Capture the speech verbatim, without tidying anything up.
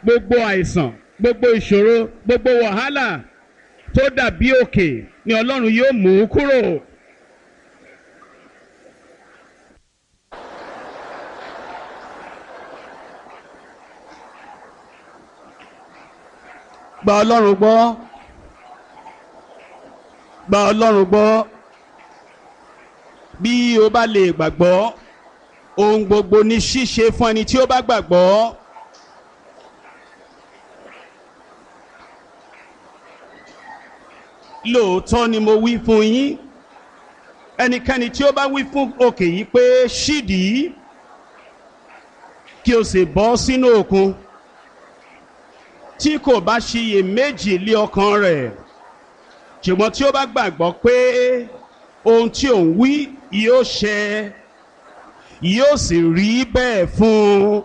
Gbogbo àìsàn, gbogbo ìṣòro, gbogbo wàhálà tó dàbí òkè ni Ọlọ́run yóò mú kúrò. Gba Ọlọ́run gbọ́. Gba Ọlọ́run gbọ́. Bí o bá lè gbàgbọ́, ohun gbogbo ní ṣíṣe fún ẹni tí ó bá gbàgbọ́. Lóòótọ́ ni mo wí fún yín, ẹnikẹ́ni tí ó bá wí fún òkè yìí pé ṣídìí, kí o sì bọ́ sínú òkun, tí kò bá ṣiyèméjì lé ọkàn rẹ̀, ṣùgbọ́n tí ó bá gbàgbọ́ pé ohun tí òun wí yóò ṣẹ, yóò sì rí bẹ́ẹ̀ fún un.